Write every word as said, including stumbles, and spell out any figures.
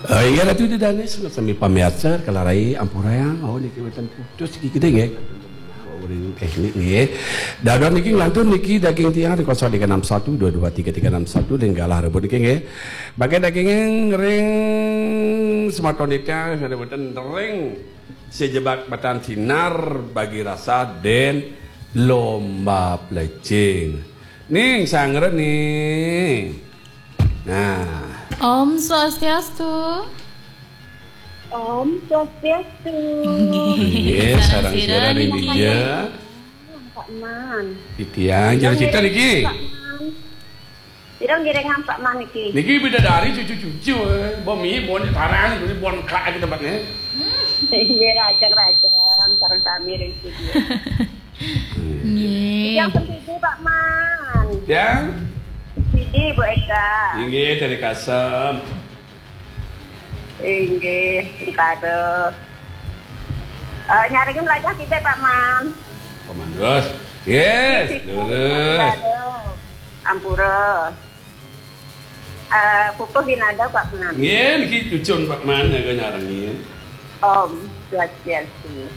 Eh, inggih Ratu Ida Dané, sareng sami pamiarsa, kalarai ampurayang, oh, niki wénten putus niki gedé nggih. Uring téknik nggih. Dados niki nglantur niki daging tiang di kosong tiga enam satu dua dua tiga tiga enam satu dan galah rebut niki nggih. Bagian daging ring semeton niki ada wénten ring sejebak batan sinar bagi rasa den lomba plecing. Ning sangren nih. Nah. Om Swastiastu. Om Swastiastu. Nggih, sareng sira ring dija. Pak Man. Titiang, jero cita niki. Pak Man. Sira ngiring Pak Man niki. Niki bidadari cucu-cucu, eh. Bon mie, bon tarang, bon kak di tempatnya. Nggih, rajang-rajang sareng sami ring studio. Nggih. Yang penting Pak Man. Yang? Sidi Bu Eka. Inggih, dari Kasem. Inggih, Ricardo. Eh, nyarengin lajah kita Pak Man. Komandus. Yes, lurus. Ampura. Eh, pupuh ginada Pak Man. Nggih, niki cucun Pak Man nyaga nyarengin. Om Swastiastu.